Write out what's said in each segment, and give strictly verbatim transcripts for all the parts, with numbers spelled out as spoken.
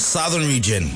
Southern Region.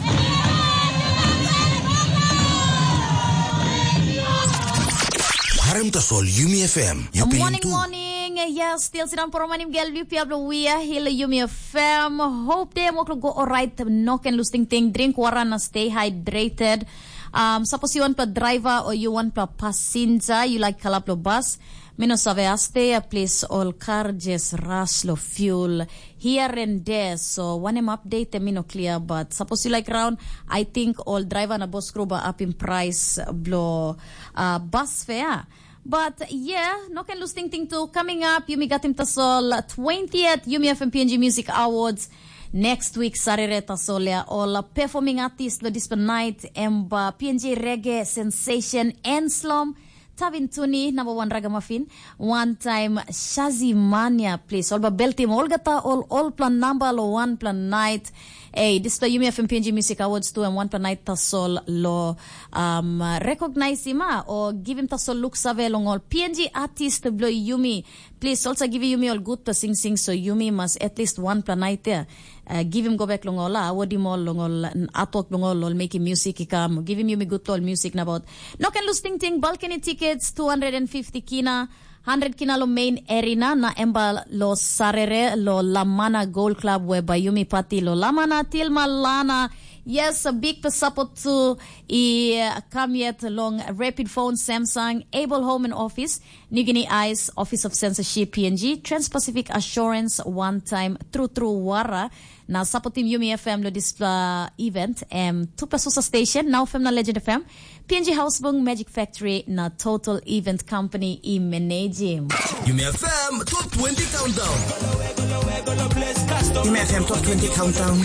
Harim tasol Yumi F M. Morning, morning. Yes, still sidang poromanim gel liu pia blo wia hil Yumi F M. Hope day mo go alright. No can lose ting ting. Drink water na stay hydrated. Um, suppose you want to driver or you want to passenger, you like kalap lo bus. Mi no save aste a plis ol kar jes ras lo fuel here and there, so wanem update mi no clear, but suppose you like round, I think all driver na bus crew ba up in price blo uh, bus fare. But yeah, no can lose ting ting too. Coming up, you me got him tasol twentieth, you me F M P N G Music Awards. Next week, Sarere Tasolia, all performing artist lo dispa night, emba P N G reggae sensation, Enslom, Tavin Tuni, number one ragamuffin, one time Shazimania, please. Olba Beltim, Olgata, all, all plan number lo one plan night. Hey, this the Yumi F M P N G Music Awards two and one plan night tasol lo um, recognize him ah, or give him tasol look save long all P N G artist blo Yumi. Please also give Yumi all good to sing sing so Yumi must at least one plan night there. Uh, give him go back long all, ah, award him all long all, atok long all, all make him music he come. Give him Yumi good to all music na about. No can lose ting ting, balcony tickets, two hundred fifty kina, hundred kina lo main arena, na emba lo Sarere, lo Lamana Gold Club, whereby Yumi party lo Lamana till Malana. Yes, a big support to i uh, come yet long Rapid Phone, Samsung, Able Home and Office, New Guinea Eyes, Office of Censorship, P N G, Trans-Pacific Assurance, one time, True True Wara, na supporting Yumi F M lo this uh, event, um, Tupa Susa Station, now F M na Legend F M, P N G Housebung, Magic Factory, na Total Event Company i manage. Yumi F M Top twenty Countdown. Yumi F M Top twenty Countdown.